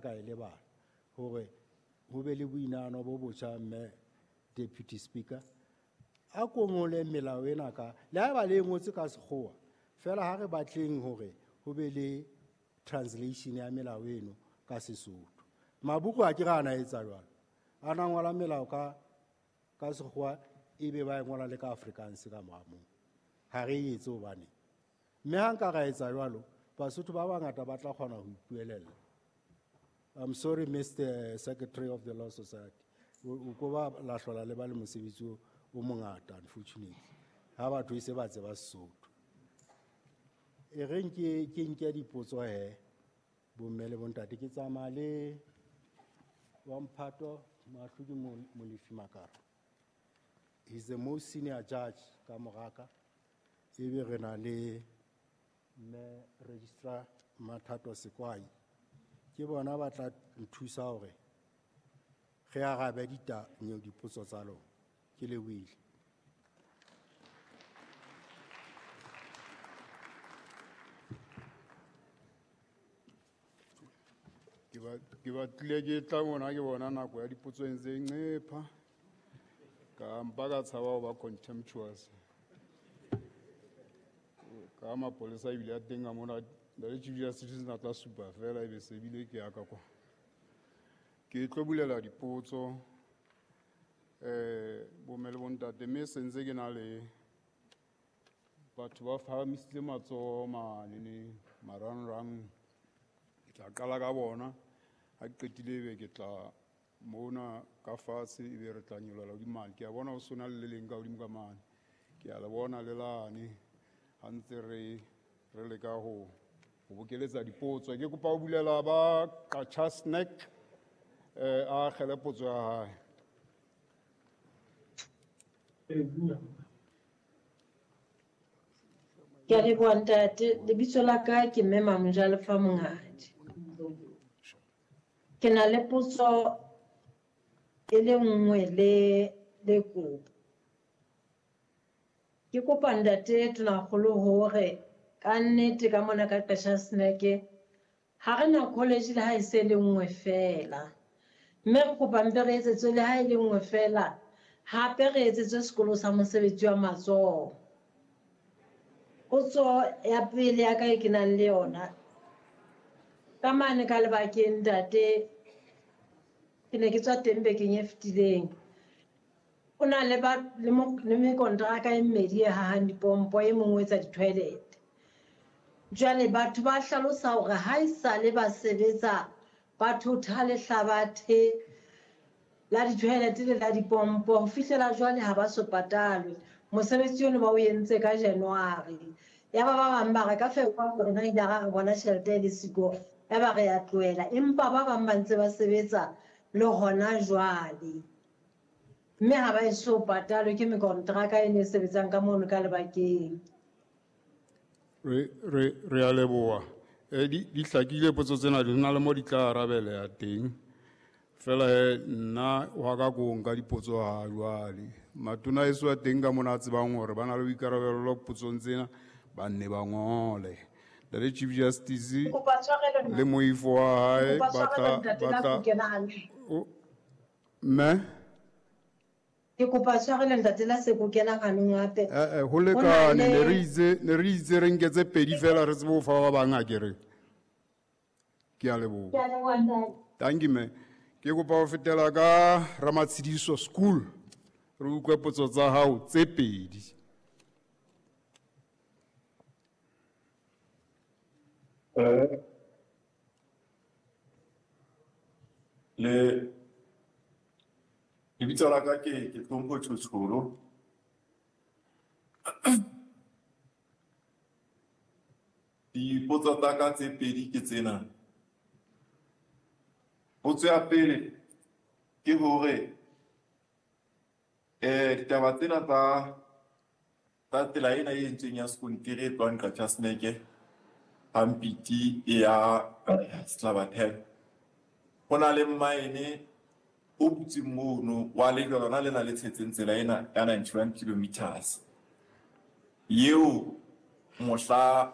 ka e lebala hore ho be le boinahano bo botjha mme Deputy Speaker. A ko ngole melao ena ka le haeba le e ngotse ka sekgowa fela ha re batleng hore ho be le translation ya melao eno ka Sesotho. Mabuku a ke re ana etsa jwalo, a na ngola melao ka sekgowa ebe ba e ngola le ka Afrikaans ka mora moo. Ha re e etse hobane mme ha nka ra etsa jwalo, Basotho ba bangata ba tla kgona ho ipuelella. I'm sorry, Mr. Secretary of the Law Society. O ko ba la hlola le ba le mosebetsi o mongata, unfortunately. Ha batho e se ba tseba Sesotho. E reng ke nke dipotso he, bomme le bontate, ke tsamaya le wa Mphato Moahlodi Molefi Makara. He's the most senior judge ka moraka. Ebe re na le mme Registrar Mathato Sekwai. Ke bona ba tla nthusa hore re arabe dipotso tsa lona. Ke lebohile. Ke batlile ke tla mona ke bona nako ya dipotso e ntse e nqepha. Ka mpa ka tshaba ho ba contemptuous. Ka mapolesa ebile a teng ka mona, le Chief Justice na tla supa fela ebe se bile ke ya ka kwa. Ke tlo bulela dipotso, bomme le bontate, mme se ntse ke na le batho ba phahamisitse matsoho mane ne marangrang. Ke tla qala ka bona, ha ke qetile ebe ke tla mona ka fatshe ebe re tla nyolohela hodimo mane. Ke a bona ho sona le le leng ka hodimo ka mane. Ke a le bona le lane ha ntse re leka ho bokeletsa dipotso. Ke kopa ho bulela ba Qacha Snack, a akgele potso ya hae. Ke a leboha ntate. Lebitso la ka ke Mme Mamojalefa Monghadi. Ke na le potso e le nngwe le kopo. Ke kopa ntate Tonakgolo hore ka nnete ka mona ka Qacha Snack ha re na college le ha e se le nngwe fela. Mme re kopa mpe re etsetswe le ha e le nngwe fela, hape re etsetswe sekolo sa mosebetsi wa matsoho. Potso ya pele ya ka e ke nang le yona, ka mane ka lebakeng ntate, ke ne ke tswa teng bekeng e fetileng. O na le ba, le mo, le mekontraka e mmedi e hahang dipompo, e mongwe o etsa di-toilet. Jwale batho ba hlalosa hore ha esale ba sebetsa ba thotha lehlabathe la di-toilet le la dipompo ho fihlela jwale ha ba so patalwe. Mosebetsi ono ba o entse ka January. Ya ba ba bang ba re ka February rona ile ra re bona tjhelete e le siko, ya ba re a tlohela. Empa ba bang ba ntse ba sebetsa le hona jwale. Mme ha ba eso patalwe ke mekontraka e ne e sebetsang ka mono ka lebakeng. Re a leboha. Di hlakile potso tsena, di na le mo di tla arabeleha teng. Fela he, nna wa ka ko nka dipotso ha jwale. Matona a eso a teng ka mona a tsebang hore ba na le boikarabelo potsong tsena, ba nne ba ngole. Ntate Chief Justice Ke kopa tshwarelo, le moifo wa hae Ke kopa ba tla, tshwarelo, ntate, ba la tla ho kena hantle. O, mme? Ke kopa tshwarelo, ntate, la se ko kena hanong hape. Ho Ho na lekane, le ne re itse re nke tse pedi fela re tsebe ho fa ba bang akere. Ke a leboha. Ke a leboha, ntate. Thank you, mme. Ke kopa ho fetela ka Ramatshediso School. Re utlwe potso tsa hao tse pedi. Le lebitso la ka ke Hlompho Tshotsholo. Dipotso tsa ka tse pedi ke tsena. Potso ya pele ke hore, ditaba tsena tsa tsela ena e entsweng ya sekontiri e tlohang Qacha Snack, Hampiti e ya Slabathebe. Ho na le mine o butseng mono wa lejwe lona lena le tshetseng tsela ena ya 91 kilometers. Eo mohla,